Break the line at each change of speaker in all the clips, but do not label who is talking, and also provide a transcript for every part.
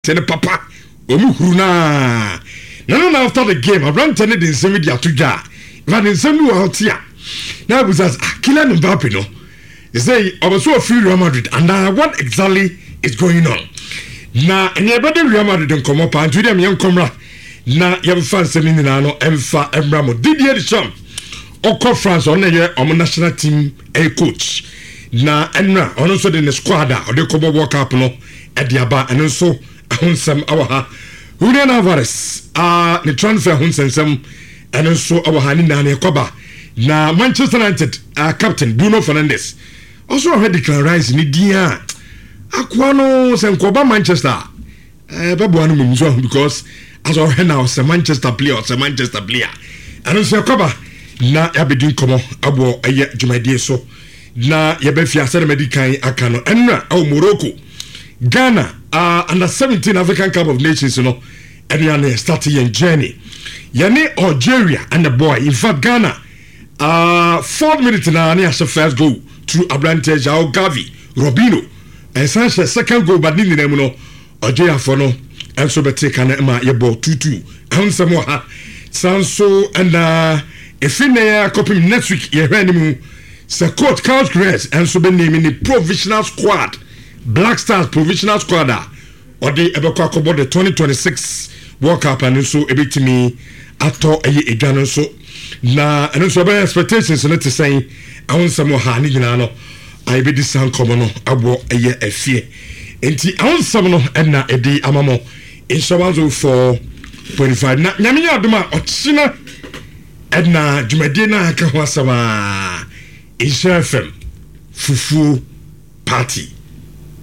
Te no papa ɔmu huru no aa na no na after the game aberanteɛ no de nsɛm di ato dwa a infact nsɛm bi wɔ hɔ te a na abusa sɛ ah Kylian Mbappe no sɛ ɔbɛ so ɔfiri Real Madrid anaa what exactly is going on na ɛnea ɛbɛde Real Madrid nkɔmmɔ paa nti deɛ meyɛ nkɔmmra na yɛmfa nsɛm no nyinaa no ɛmfa mmra mo Didier Deschamps ɔkɔ France ɔno na ɛyɛ ɔmo national team ɛyɛ coach na ɛnra ɔno nso de ne squad a ɔde kɔbɔ World Cup no ɛde aba ɛno nso ɛho nsɛm ɛwɔ ha Julian Alvarez a ne transfer ho nsɛnsɛm ɛno nso ɛwɔ ha ne nyinaa ne ɛkɔba na Manchester United uh, captain Bruno Fernandes ɔso ɔhwɛ Declan Rice ne din a akoa no sɛ nkɔba Manchester a ɛbɛboa no mmom so because asɛ ɔhwɛ na ɔsɛ Manchester player, ɔsɛ Manchester player. Ɛno nso ɛkɔba na yɛabɛdi nkɔmmɔ ɛwɔ ɛyɛ dwumadie so na yɛbɛfi asɛ na madi kan aka no ɛnora ɛwɔ Morocco Ghana uh, under 17 African Cup of Nations no ɛne ana yɛ start yɛn journey yɛne Algeria ɛna boy. In fact, Ghana fourth minute na ne ahyɛ first goal through aberanteɛ João Gavi Robinho. Ɛsan hyɛ second goal, but ne nyinaa mu no Algeriafoɔ no nso bɛte ka no ma yɛbɔ 2-2. Ɛho nsɛm wɔ ha saa nso. Ɛna ɛfiri nnɛ akɔpem next week yɛhwɛ anim sɛ coach Carlos Queiroz nso bɛname ne provisional squad, Black Stars provisional squad a ɔde ɛbɛkɔ akɔbɔ the 2026 World Cup no nso ɛbɛtumi atɔ ɛyɛ edwa no nso na ɛno nso ɛbɛyɛ expectations no te sɛn. Ɛho nsɛm wɔ ha ne nyinaa no a yɛbɛdi saa nkɔmmɔ no ɛwɔ ɛyɛ afie nti ɛho nsɛm no ɛna ɛde ama mo nhyɛ 104.5. Na Nyame yɛ adom a ɔkyena ɛna dwumadie no a aka ho asɛm a Nhyira FM fufuo party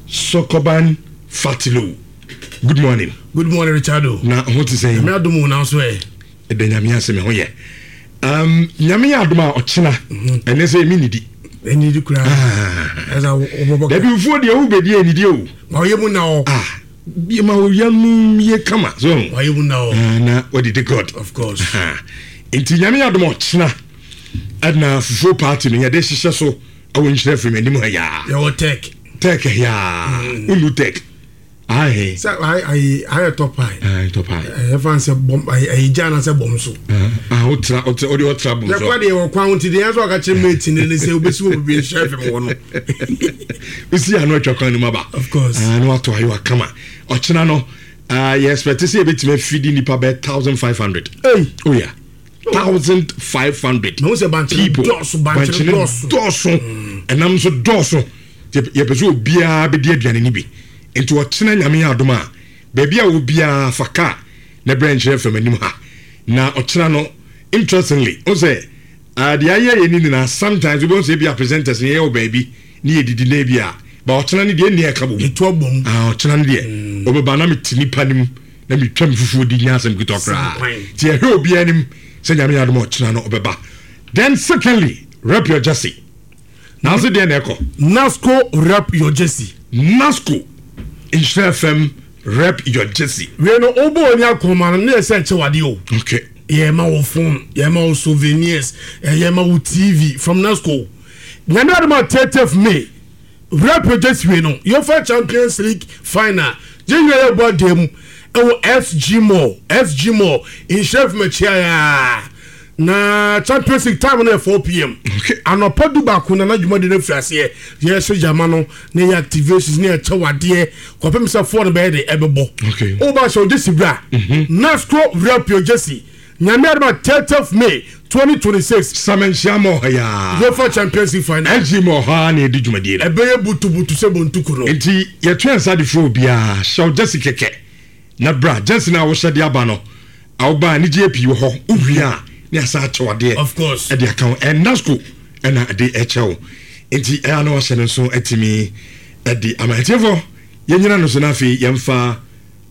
Sokoban Fatilo. Good morning.
Good morning, Richardo.
Na ho te sɛn?
Nyame adom wo, nanso ɛ.
Ɛda Nyame ase, me ho yɛ. Nyame yɛ adom a ɔkyena ɛnɛ sɛ ɛmi nidi.
Ɛnidi koraa.
Ɛsɛ wobɔbɔ. Dabi, fufuo deɛ wobɛdi ɛnidi o.
Ma ɔyɛ mu na ɔ.
Ah, ma ɔyɛ mu yɛ kama so.
Ma ɔyɛ mu na ɔ.
Ah, na wadidi God.
Of course.
Nti Nyame yɛ adom a ɔkyena ɛna fufuo party no yɛde hyehyɛ so ɛwɔ Nhyira firi anim ha yaa.
Yɛwɔ tech.
Tech yaa. Wonu tech. Ahe.
Sɛ ayi ayɛ top high.
Ayi top high.
Ɛyɛ fan sɛ bɔm ayi ayi gya na sɛ bɔm so.
Ah, o tira o tira o de o tira bɔm so.
Yɛ kɔ deɛ wɔ kwan ti deɛ yɛn nso ɔka kyerɛ mate ne ne sɛ obesi wɔ bebree nhyɛ fam wɔ no.
Osi ano atwa kwan no mu aba.
Of course.
Ah, no ato ayo akama. Ɔkyena no, ah, yɛ expect sɛ yɛbɛtumi afidi nipa bɛyɛ 1,500.
Hey.
Oh yeah. 1,500
people. Dɔɔso, bankyene
dɔɔso. Dɔɔso. Ɛnam nso dɔɔso. Yɛpɛ sɛ obiara bɛdi aduane no bi. Nti ɔkyena Nyame yɛ adom a, baabi a obiara fa kaa na brɛ Nkyerɛ fam anim ha. Na ɔkyena no, interestingly, wo sɛ uh, deɛ ayɛ yɛ ne nyinaa, sometimes wobɛhu sɛ ebia presenters no yɛyɛ wɔ baabi ne yɛdidi na ebia ba ɔkyena no deɛ ɛnni ɛka bom.
Ɛtu abom.
Ah, ɔkyena no deɛ ɔbɛba na mete nipa no mu na metwa me fufuo di nya asɛm ketewa koraa. Nti yɛhwɛ obiara anim sɛ Nyame yɛ adom a ɔkyena no ɔbɛba. Then secondly, rep your jersey. Nanso deɛ na ɛkɔ.
Nasco rep your jersey.
Nasco Nhyira FM rep your jersey.
Wei no wobɔ oni akɔnma no ne yɛ sɛ ɛkyɛ wadeɛ o.
Okay.
Yɛ ma wo phone, yɛ ma wo souvenirs, yɛ ma wo TV from Nasco. Nyame adom a 30th May rep your jersey wei no UEFA Champions League final yɛn nyinaa yɛ bɔ adeɛ mu ɛwɔ SG Mall, SG Mall Nhyira FM akyia yaa. Na Champions League time no yɛ 4 p.m. Anɔpa 11 na n'adwuma no afiri aseɛ. Yɛhyɛ gyama no na yɛ activations ne yɛkyɛ wadeɛ kɔpem sɛ 4 no bɛyɛ de ɛbɛbɔ. Woba hyɛ wo jersey bra. Nasco rep your jersey. Nyame adom a 30th May 2026.
Samanhyia ma ɔha yaa.
UEFA Champions League final.
SG ma ɔha na yɛdi dwumadie no.
Ɛbɛyɛ butubutu sɛ bontuku no.
Nti yɛto yɛn nsa de frɛ obiara, hyɛ wo jersey kɛkɛ na bra. Jersey no a wohyɛ de aba no, awoba anigyeɛ pii wɔ hɔ. Wowie a ne asa akyɛw adeɛ.
Of course.
Ɛde aka ho. Ɛnasco ɛna ɛde ɛkyɛ wo nti ɛyɛ na wahyɛ no nso atumi ɛde ama atiefoɔ. Yɛnyina no so na afei yɛmfa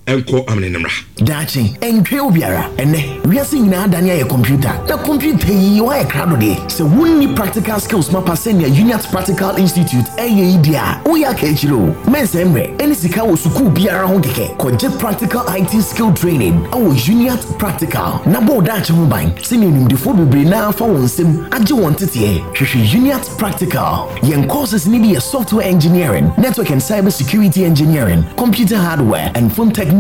ɛnkɔ amene no mmra.
Daakye, ɛntwɛn obiara. Ɛnɛ, wiase nyinaa adane ayɛ kɔmputa. Na kɔmputa yi, woayɛ krado deɛ? Sɛ wonni practical skills mapa sɛnea Uniat Practical Institute ɛyɛ yi deɛ a, woyɛ aka akyire o. Mɛnsɛe mmerɛ ɛne sika wɔ sukuu biara ho kɛkɛ. Kɔgye practical IT skill training ɛwɔ Uniat Practical na bɔ wo daakye ho ban sɛnea nimdefoɔ bebree naa fa wɔn nsam agye wɔn teteɛ. Hwehwɛ Uniat Practical. Yɛn courses ni bi yɛ software engineering, network and cyber security engineering, computer hardware and phone technology.